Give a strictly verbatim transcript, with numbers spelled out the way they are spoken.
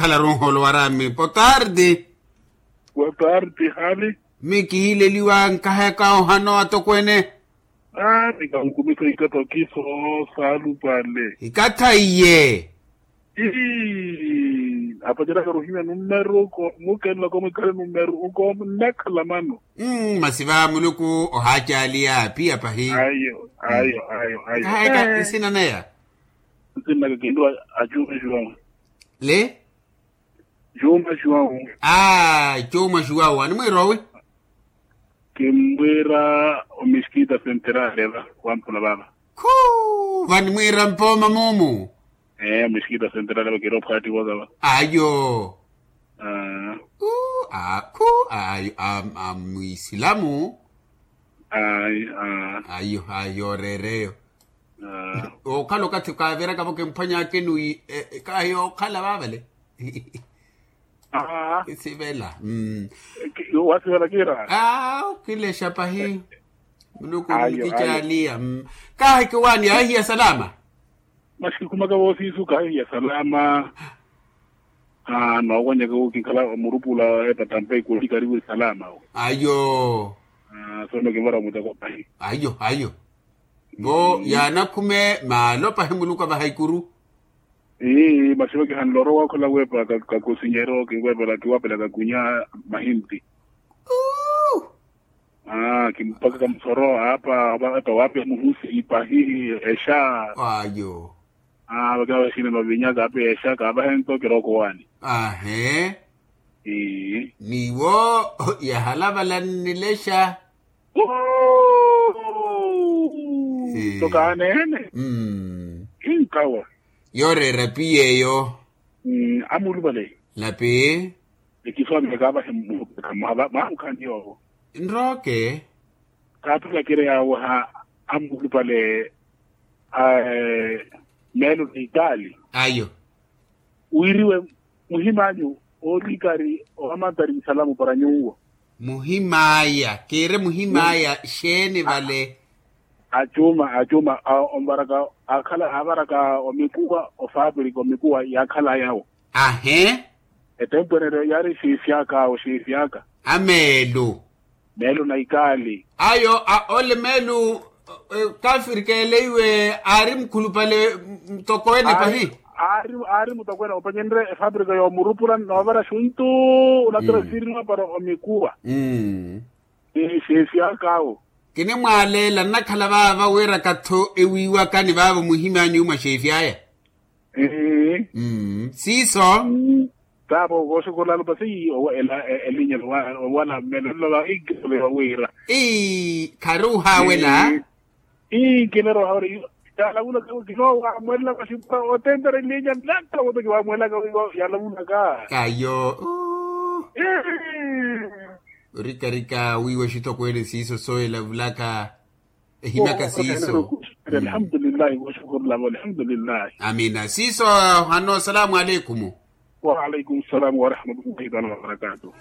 Laronholo warami potardi. Potardi hali. Mi kihileliwa nkaheka ohano atokwene. Aa nikankumisa ikata okiso. Salupale ikatha iye. Ii apaceraka ruhimya numeru ko mukenloko mwikhale numeru ko nnakhala mano. Masi va muluku ohaacaliya piya pahi. Ayo ayo ayo ayo. Kahayaka nsina neya. Nsinnaka kintu acume xiwawu. Le. Cuuma xuwawu. Aa cuuma xuwawu animwiira owi? Kimmwiira omiskita senterale va. Wamphula vava. Khuu vanimwiira mpooma mumu. Ee omiskita senterale va kiri ophwaattiwa za va. Ayo. Aa. Khuu aa khuu ayo. Mwiisilamu. Ayo ayo. Ayo ayo reereyo. Okhala okathi kaaviraka-vo kimphwanyaka enuwi. Kahi okhala vaavale. Sivela. Wasivela kira. Kilexa pahi. Muluku nikicaaliya. Kahi kiwaani ahihiya salama. Masi kikhumaka voosiisu kahihiya salama. Noowanyaka wo kinkhala murupula epatampa ikoli karivu salama. Ayo. Sono kimara muteko pahi. Ayo ayo. Vo yaanakhume maalo pahi muluku avaha ikuru. Ii masi vakihanle orowa okhala weepa kakusinyero kinweepela kiwaapela kakunya. Mahinti. Aa kimpaka kamusoro apa apa wape muhusi ipahi. Exa. Ayo. Aa vakina vaxineno vinya kape exa kaavahento kirooko waani. Ahe. Ii. Niwo yahalavala nnilexa. Tokaanene. Inkawa. Yooreera piyeeyo. Amulupale. Lapi. Ekiswamile kaavahe mmuhupeka mwaha mwaha mukhaani yoowo. Nrooke. Kaaphika kiri yaawaha. Amulupale. Meelo ni itaali. Ayo. Wiiriwe muhimaanyu oorikari owamantari nsalamu para nyuwo. Muhimaaya kiire muhimaaya xeeni vale? Acuuma acuuma onvaraka akhala aavaraka omikuwa ofapirika omikuwa yaakhala yawo. Ahe. Etempweneryo yaari xiifyaka awo xiifyaka. Ameelu. Meelu na ikaali. Ayo a ole meelu. Kafirikeele iwe aari mukhulupale mutokweene pahi. Aari mutokweene opanyenrye efapirika yoomurupula noovara xuntu. Onatira sirinwa para omikuwa. Xeefi akaawo. Kinimwaaleela nnakhala vaava wiiraka-tho ewiiwaka ni vaavo muhimaanyu mwa xeefi aya. Siiso. Taavo vooxukhurula alupasi. Elinya owala mmelo nlola inkisole wawiira. Ii khari ohaawela. Ii nkilero ohaawela. Yaalavulaka kinoowaamwelelaka xipura otentera elinya nnakhala voto kiwaamwelelaka wiiwa yaalavulaka. Ayo. Orikarika wiiwa xitokweene siiso sooyelavulaka. Ehimyaka siiso. Alhamdulillahi. Amina siiso. Hano salaamu aleikumu. Wa aleikumu salaamu warahmatullahi taala wabarakatuhu.